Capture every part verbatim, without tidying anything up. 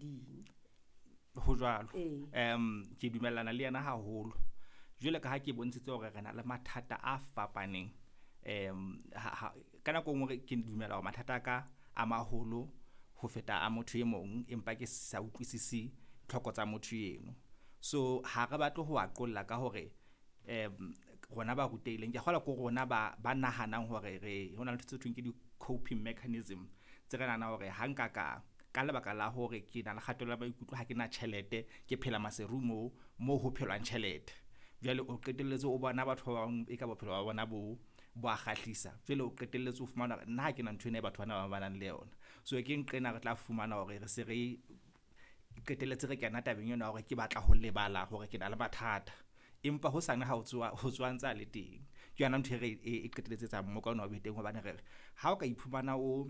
ding. Ho jwalo. Ee. Um ke dumellana le yena haholo. Jwale ka ha ke bontshitse hore re na le mathata a fapaneng, um ha, ha, ka nako e nngwe ke dumela hore mathata a ka a maholo ho feta a motho e mong, empa ke sa utlwisisi tlhoko tsa motho eno. So ha re batle ho a qolla ka hore um rona ba rutehileng, ke a kgolwa ke rona ba ba nahanang hore re ho na le ntho tse thweng ke di-coping mechanism tse re nahanang hore ha nka ka ka lebaka la hore ke na le kgatello ya maikutlo, ha ke na tjhelete, ke phela Maseru moo mo ho phelwang tjhelete. Jwale o qetelletse o bona batho ba bang e ka bophelo ba bona bo bo a kgahlisa. Jwale o qetelletse o fumana hore nna ha ke na ntho ena e batho bana ba ba nang le yona. So ke nqena re tla fumana hore re se re qetelletse re kena tabeng ena ya hore ke batla ho lebala hore ke na le mathata. Empa hosane ha o tsoha, ho tsoha ntse a le teng. Ke yona ntho e re e qetelletse etsang mmoka ona o be teng hobane re re ha o ka iphumana o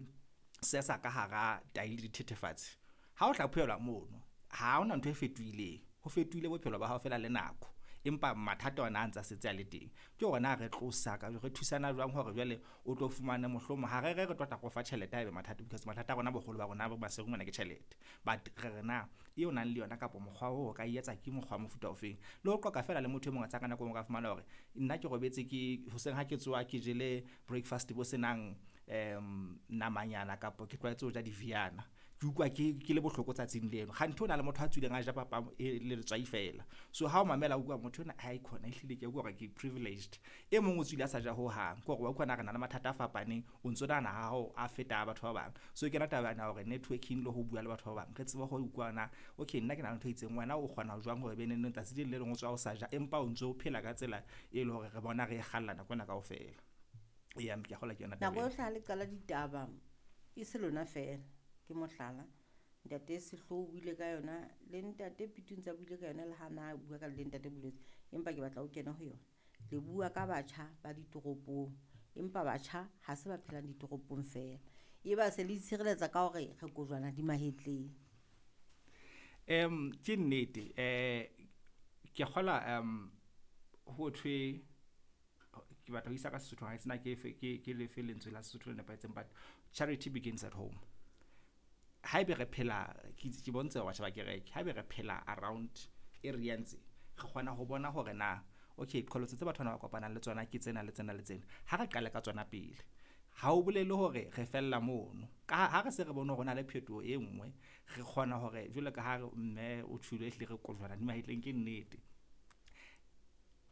sesa ka hara tahi le dithethefatsi, ha o hlaphohelwa mono ha hona ntho e fetohileng. Ho fetohile bophelo ba hao fela le nako, empa mathata ona a ntsa setse a le teng. Ke hore na re tlosa re thusana jwang hore jwale o tlo fumane mohlomong ha re re re tlo tla re o fa tjhelete haebe mathata, because mathata a rona boholo ba rona Maseru mona ke tjhelete. But re re na eo nang le yona kapa mokgwa oo o ka e etsa ke mokgwa wa mofuta ofeng. Le ho qoqa feela le motho e mong wa tseba ka nako e nngwe o ka fumana hore nna ke robetse ke hoseng ha ke tsoha ke jele breakfast bo senang um namanyana kapa ke tlwaetse ho ja di-Viana. Ke utlwa ke ke le bohloko tsatsing leno. Kganthe ho na le motho a tswileng a ja papa e le letswai fela. So ha o mamela o utlwa motho ona aikhona ehlile ke a utlwa hore ke privileged. E mong o tswile a sa ja hohang. Ke hore wa utlwa na re na le mathata a fapaneng, o ntso nahana ha hao a feta a batho ba bang. So ke yona taba ena ya hore networking le ho bua le batho ba bang, re tsebe ho utlwa na okay nna ke na le ntho e itseng, wena o kgona jwang hore be neng tsatsi le leng le leng o tswa o sa ja empa o ntso phela ka tsela e leng hore re bona re e kgalla nako ena kaofela. Eya, ke a kgolwa ke yona taba Nako eo. yohle ha le qala ditaba e se lona fela, ke mohlala. Ntate Sehloho o buile ka yona le ntate Pitu ntse a buile ka yona le ha na bua ka le ntate Bolotse, empa ke batla o kene ho yona. Le bua ka batjha ba ditoropong, empa batjha ha se ba phelang ditoropong fela. E ba se le itshireletsa ka hore re kojwana di mahetleng. Um ke nnete, eh ke kgola um ho thwe ke batla ho isa ka Sesotho ha sena ke fe ke ke lefe lentswe la Sesotho le nepahetseng, but charity begins at home. Haebe re phela ke ke bontshe batjha ba kereke, haebe re phela around area ntse re kgona ho bona hore na okay qholotso tse batho bana ba kopanang le tsona ke tsena le tsena le tsena. Ha re qale ka tsona pele, ha o bolele hore re fella mono. Ka ha re se re bone hore ho na le phetoho e nngwe, re kgona hore jwalo ka ha mme o tjholo ehlile re kojwana di mahetleng ke nnete.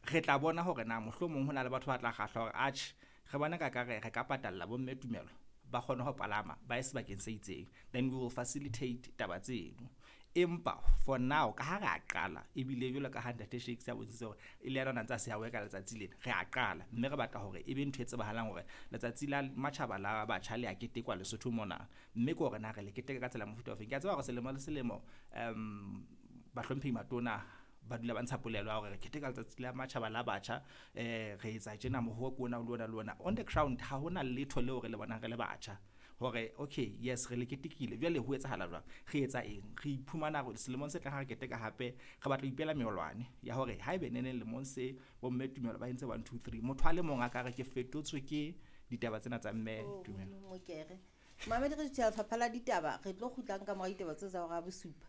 Re tla bona hore na mohlomong ho na le batho ba tla kgahlwa hore atjhe re bona ka ka re re ka patalla bomme tumelo ba kgone ho palama ba ye sebakeng se itseng, then we will facilitate taba tseno. Empa for now ka ha re a qala ebile jwalo ka ha ntate Shakes a bontshitse hore e le yena o na ntse a se a worka letsatsi lena, re a qala mme re batla hore e be ntho e tsebahalang hore letsatsi la matjhaba la batjha le a ketekwa Lesotho mona, mme ke hore na re le keteka ka tsela mofuta ofeng. Ke a tseba hore selemo le selemo um bahlomphehi matona ba dula ba ntsha polelo ya hore re keteka letsatsi la matjhaba la batjha, eh re etsa tjena moho ke ona le ona le ona. On the ground ha hona letho leo re le bonang re le batjha hore okay yes re le ketekile, jwale ho etsahala jwang, re etsa eng, re iphumana hore selemong se tlang ha re keteka hape re batla ho ipehela meolwane ya hore haebe neneng lemong se bomme tumelo ba entse one two three, motho a le mong a ka re ke fetotswe ke ditaba tsena tsa mme Oh, tumelo. Mokere. Mamedi re tjha lefapha la ditaba, re tlo kgutlang ka mora ditaba tseo tsa hora ya bosupa.